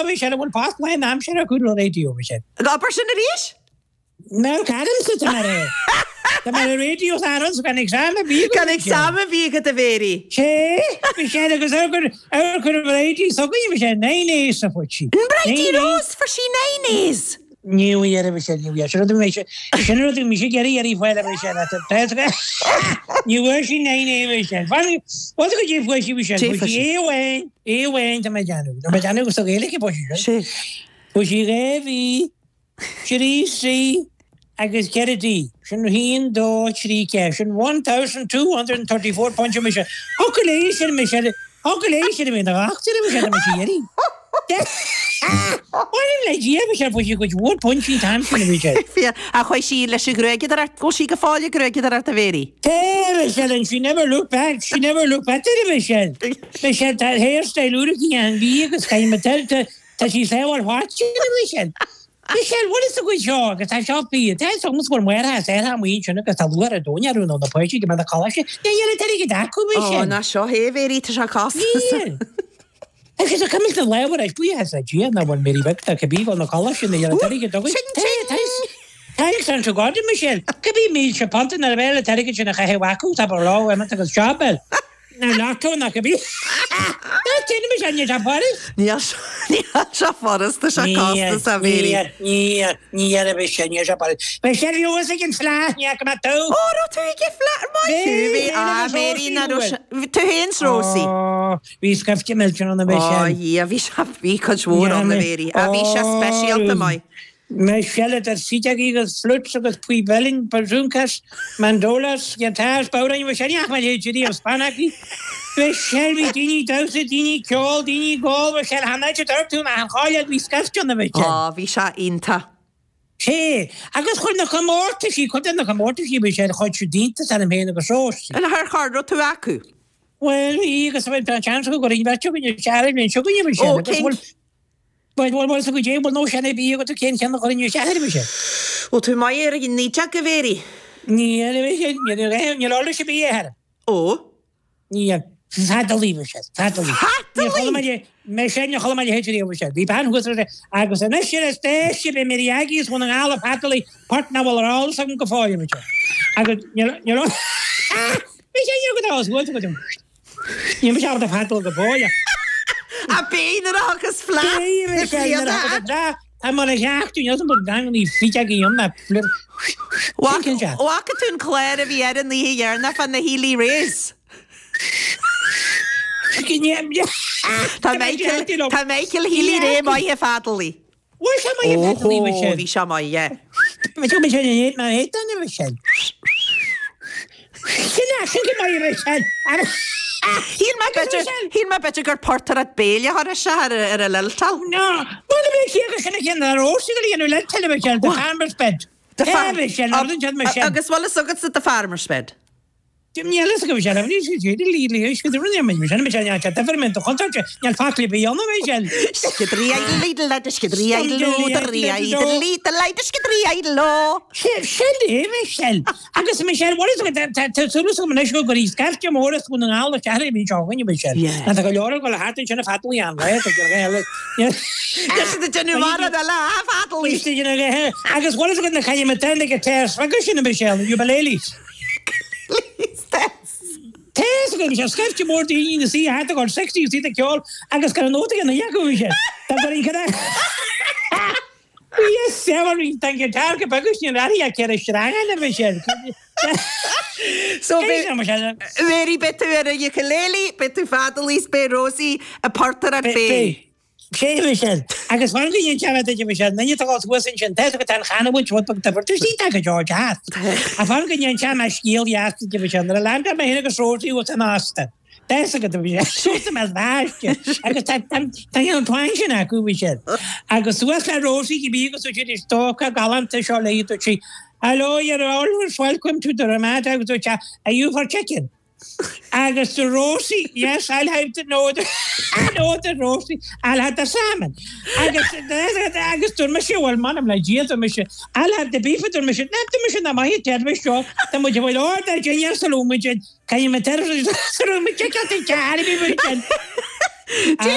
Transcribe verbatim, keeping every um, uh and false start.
leo Michelle bhfuil pas le aimsir a chuid radio Michelle. Abair sin arís? No Adams tá mar é. Tá mar radio Adams gan exam a bhí Gan exam a bhí agat a Mhéirí. Sé Michelle agus ar ar chur radio so go Michelle nine A's a fuair sí. An Bridie Rose fuair sí nine A's. Ní bhí Michelle ní bhí sin mé sin rud mé sé gerí ar fáil Michelle Ní bhfuair sí nine A Michelle. What go dé fuair sí Michelle Dé fuair sí sí. A amháin A amháin tá mé déanamh. Tá mé déanamh go sa Ghaeilge fuair sí. Sé. Fuair sí dhá B trí C agus ceithre D. Sin haon dó trí ceathair. Sin one thousand two hundred and thirty four pointe Michelle. Thug léi sin Michelle. Thug léi sin mé na achtar Michelle me sí éirí. Bhfuil le Dia Michelle fuair sí cuid mhór pointí tam sin Michelle. Fia a chuaigh sí leis an ghruaigeadóireacht go sí go fáile gruaigeadóireacht a Mhéirí. Hey, Michelle, and she never looked back. She never looked back to Michelle. Michelle, tá hairstyle úr an bhí agus caiim tá tá sí sáhar what Michelle. Michelle, what is the good seo agus tá seo bí tá soms go mhair sé mu sin agus tá luar a dóine rún na pointí go na choláiste. Ní dhéana tar go acu Ó Michelle. ná seo hé Mhéirí tá sé cos. Níl. Agus a cymryd y lewer eich bwy has a gia na bhfuil Mary Beck tá cibí na choláiste na dhéana tar go Thanks an to God Michelle. Cibí míle se panta na bheile tar sin a chahe wacu tá bar lá agus jobel. Na lotto na cibí. Tá tin Michelle ní tá Paris. Níl sé furast sé costas a Mhéirí. Ní ní ar Michelle ní sé Paris. Michelle bhí ag an Fleadh ní go tú. Ó raibh tú ag Fleadh maith a Mhéirí na tú féin Rosie. Bhí scaifte millteach ann a Ó Michelle. Dhia bhí sé bhí cuid mhór ann a Mhéirí a bhí sé speisialta maith. Michelle der sitagi agus flutes agus pui-belling bazookas mandolas guitars bauran Michelle ach mar héidir an spanaki. Michelle bhí daoine damhsa daoine ceol daoine gáil Michelle hanna tú na an cháile bhí scaifte ann a Michelle. Á bhí sé iontach. Sé agus chuir na comórtaisí chud na comórtaisí Michelle chuid siad iontas ar an féin agus Rosie. An thar char raibh tú acu? Well bhí agus bhí an chance go gur bheith go seair bhíon seo go Michelle. Ó, cén- Well well well go dé no sin bí go cén ceann go inniu seair Michelle. Ó tú maith ar an níteach go Mhéirí? Ní ní ní sé bí air. Ó? Ní fadalaí Michelle, fadalaí. Fadalaí? Me sin na chola héidir Michelle. Bhí ban thuas agus an sin is dé si be mé agis chun an ála fadalaí part na bhfuil ará san go fáil Michelle. Agus ní Bhí sé go go go Ní me a fadal go fáil. A b'in agus Fleadh Tá mar a sheachú an gang ní fi go na flir. Bhfaca tú an cléir a bhí ar an oíche dheireanach fan na Healy-Raes. Tá Michael Tá Michael Healy-Rae maith ag feadalaí. Bhfuil sé maith ag feadalaí Michelle? Bhí sé maith, yeah. Bhí sé Michelle mar é Michelle. Sin sin go maith Michelle. Shíl mé shíl mé b'fhéidir gur portaireacht béile thar sé ar ar a liltal. No, Bhuel bhí sí agus sin cin ar ósi go dhéanú le Michelle, the farmer's bed. The farm Michelle, Michelle. Agus bhfuil fhios agat the farmer's bed. Ní go Michelle, ní sí lí lí go rinne Michelle Michelle deferment chonte níl faclí bí anna Michelle. Skidrí Lidl le skidrí Lidl Sin é Michelle. Agus Michelle what is it go go scaifte mór go an ála ceir bhí seo Michelle. Yeah. Na go leor go le hat sin a fadalaí an le déanú mar le fadalaí. Agus what is it na chaine me ten go te agus sin Michelle ukuleles. Tes go sé scaifte mór daoine na sí hat go sixty sí ceol agus gan nóta na jago sé. Tá go go Yes, seven tan guitar go begus ní raí a ceir sranga na Michelle. So Mhéirí beidh tú ar a ukulele, beidh tú fadalaí beidh Rosie ag portaireacht béil. Sé Michelle. Agus fan go dhéan teach Michelle, na tá thuas sin te go tan chanúint rud tá tú sí go George Hat. A fan go dhéan te scéal jaasta Michelle, na land me héna go Rosie was an asta. Des go Michelle me bhaiste agus tá an twang sin acu Michelle. Agus suas le Rosie go bí agus si stóca galanta seo le sí. Hello, you're always welcome to the Ramada. Agus dúirt are you for chicken? Agus the Rosie, yes, I'll have the no, the, no, the Rosie, I'll have the salmon. Agus agus dúirt mise well man le Dia dúirt mise I'll have the beef dúirt mise na dúirt mise na maith teir mise seo tá muid bhfuil order dinner sa lú muid caithfidh mé ter sa lú muid chicken te cear bí muid. Dé